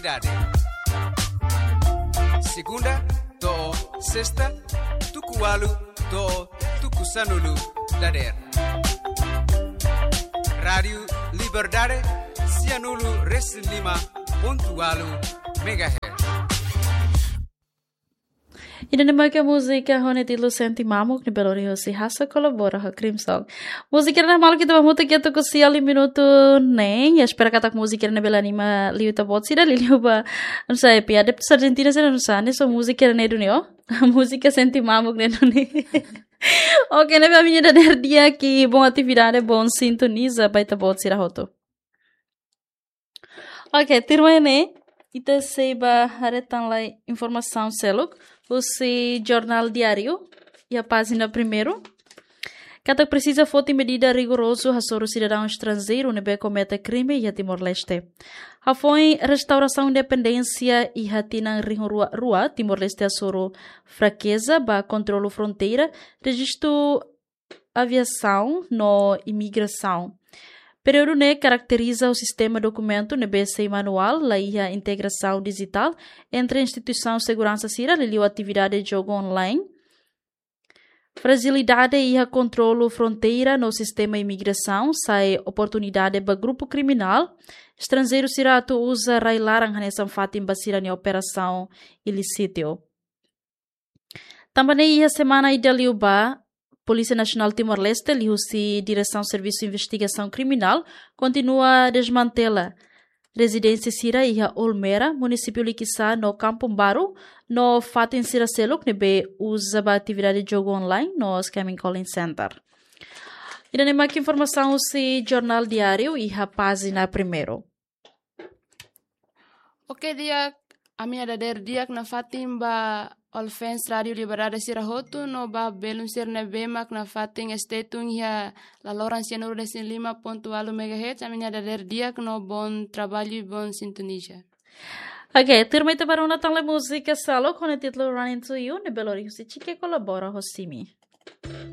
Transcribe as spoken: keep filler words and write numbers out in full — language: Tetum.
Liberdade. Segunda to'o sesta, tuku ualu to'o tuku sanulu dadeer. Rádiu Liberdade, sianulu resin lima pontu ualu megahertz. Ida-ne'e mak múzika ho nia títulu Sente Mamuk ne'ebé lori husi Hasso kolabora ho Crimson. Múzika ne'e maluk, ita bá hamutuk iha tuku sia liu minutu neen. Espera katak múzika ne'e bele anima liu ita-boot sira, liuliu ba, não sei, pe adeptus Argentina sira, não sei, ne'e só múzika ne'e duni, ó. Múzika Sente Mamuk ne'e duni. Oke, ne'ebé ami-nia dadeer di'ak, bom atividade, bom sintoniza ba ita-boot sira hotu. Oke, tuirmai ne'e, ita sei bá haree tan lai informasaun seluk husi Jornál Diáriu, iha pájina primeiru. Katak presiza foti medida rigorozu hasoru sidadaun estranjeiru ne'ebé komete krime iha Timor-Leste. Hafoin restaurasaun independénsia iha tinan rihun rua rua, Timor-Leste hasoru frakeza ba kontrolu fronteira, rejistu aviasaun no imigrasaun. Períodu ne'e karakteriza ho sistema dokumentu ne'ebé sei manuál, la iha integrasaun dijitál entre instituisaun seguransa sira, liuliu atividade jogu online. Frajilidade iha kontrolu fronteira no sistema imigrasaun sai oportunidade ba grupu kriminál estranjeiru sira atu uza rai-laran hanesan fatin ba sira-nia operasaun ilísitu. Tanba ne'e iha semana ida liubá, Polísia Nasionál Timor-Leste, liuhusi Diresaun Servisu Investigasaun Kriminál, kontinua desmantela rezidénsia sira iha Olmera, munisípiu Likisá no Kampung Baru, no fatin sira seluk ne'ebé uza ba atividade jogu online no scamming calling center. Ida-ne'e mak informasaun husi Jornál Diáriu iha pájina primeiru. Oke, di'ak, ami-nia dadeer di'ak nafatin ba ouvinte Rádiu Liberdade sira hotu no ba belun sira ne'ebé mak nafatin stay tune iha laloran sianulu resin lima pontu ualu megahertz, ami-nia dadeer di'ak no bom trabalho i bom sintoniza. Oke, tuirmai ita bá rona tan lai múzika seluk ho nia títulu Running to You, ne'ebé lori husi Chike kolabora ho Simi.